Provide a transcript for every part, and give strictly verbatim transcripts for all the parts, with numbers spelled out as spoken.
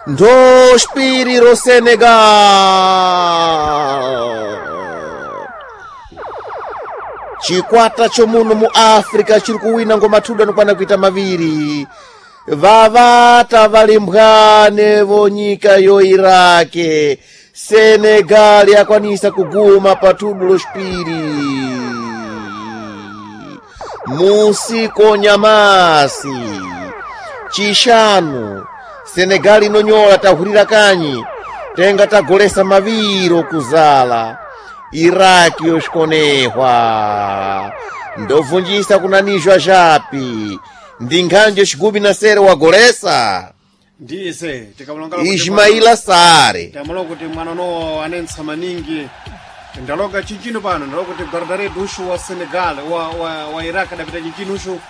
Ndospiri ro Senegal. Chikwata chomuno mu Africa chiri kuwina ngoma thudu anokwana kuita maviri. Vavata valimbwane vonyika yo Irake. Senegal yakwanisa kuguma pa thudu loxipiri. Musiko nyamasi. Chishanu. Senegal inonyola tahurira kanyi. Tenga tagolesa maviro kuzala. Iraki yoshikonehwa. Ndovunjisa kunanizwa japi. Ndinkhanje xigubi na sere wagolesa. Ndiye tikamulongala kuti Ismaila Sare. Tamalo kuti mwana uno anentsa maningi ndaloga chinchino pano ndaloga kuti guardarede ushu wa Senegal wa, wa, wa Iraq adapita chinchino ushu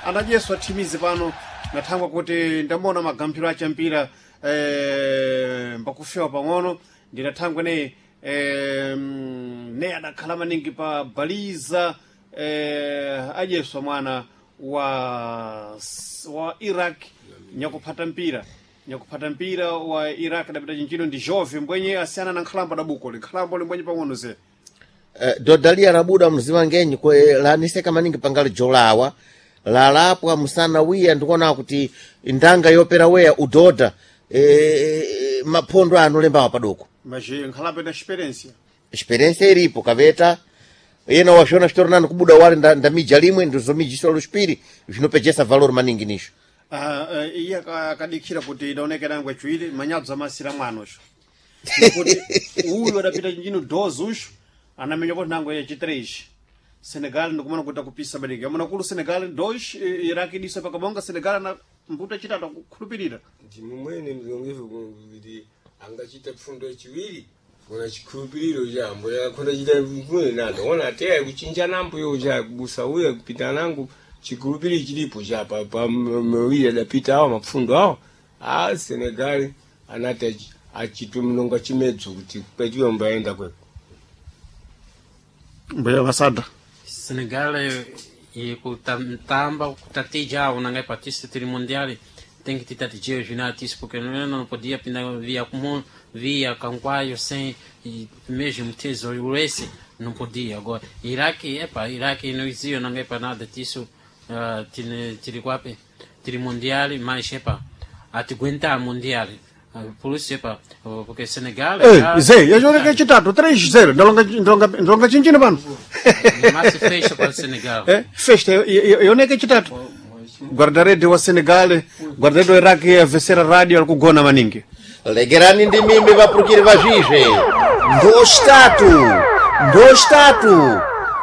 anadyeswa thimizi pano nathangwa kuti ndamona magamphiro acha mpira eh, mbakufewa pang'ono ndinathangwa ne eh, ne adakhala maningi pa baliza eh, adyeswa mwana wa, wa Iraq nyakuphata mpira nyakuphata mpira wa Iraq adapita chinchino ndi Jove mbwenye asiyana na nkhalambo adabuko likhalambo limbwenye pang'ono ze Eh, Dodalia labuda mziwa ngenyi kwe laniseka maningi pangali jolawa lalapwa musana wiya ndikuona kuti ndanga yopera weya udoda eh, maphondo ano lembawa padoko maje nkhalambo ina experiência experiência iripo kaveta yena wazvona zvitori kubuda wari nda- ndamija limwe ndizomijiswa luxipiri zvinopejesa valor maningi nisho. Ah, eh, iye aka- akadikhira kuti idaonekera ngwe chiwiri manyadzo amasira mwana usho kuti uyu adapita chinchino dos usho anamenya kuti nango yachi três Senegal ndikumana kuti akupisa maningi amuna kulu Senegal dois eh, Iraq idisa pakabonga Senegal ana mbuto chitatu akukhulupirira. Ndi mumwene mzongevu kuti angachita pfundo yachiwiri kona chikhulupiriro chambo yakhona chita mvune nando ona teya kuchinja nambo yo cha kubusa uya kupita nangu chikhulupiriro chilipo cha pa pa mawiri adapita awo mapfundo awo a Senegal anati achi- achitwe mnonga chimedzo kuti kwechiwe mbaenda kweko. Mbuya vasada. Senegal e kutamba kutatija unangai patista tiri mundial tem que te junat isso porque não não podia pintar via comum via canquaio sem e mesmo tesouro esse não podia. Agora Iraque epa Iraque não existe não é para nada disso uh, tiri tiri quape tiri mundial mas epa aguentar mundial. Ah, por isso epa porque Senegal Ei, já- Zé, yaoneka chitatu três zero ndalonga ndalonga ndalonga chinchino pano. mais fecha para o Senegal. Eh, festa yaoneka chitatu guardarede wa Senegal guardarede wa Iraq avesera radio ali kugona maningi. Legerani ndi mimi vapurukiri vazvizve. Ndostatu. Ndostatu.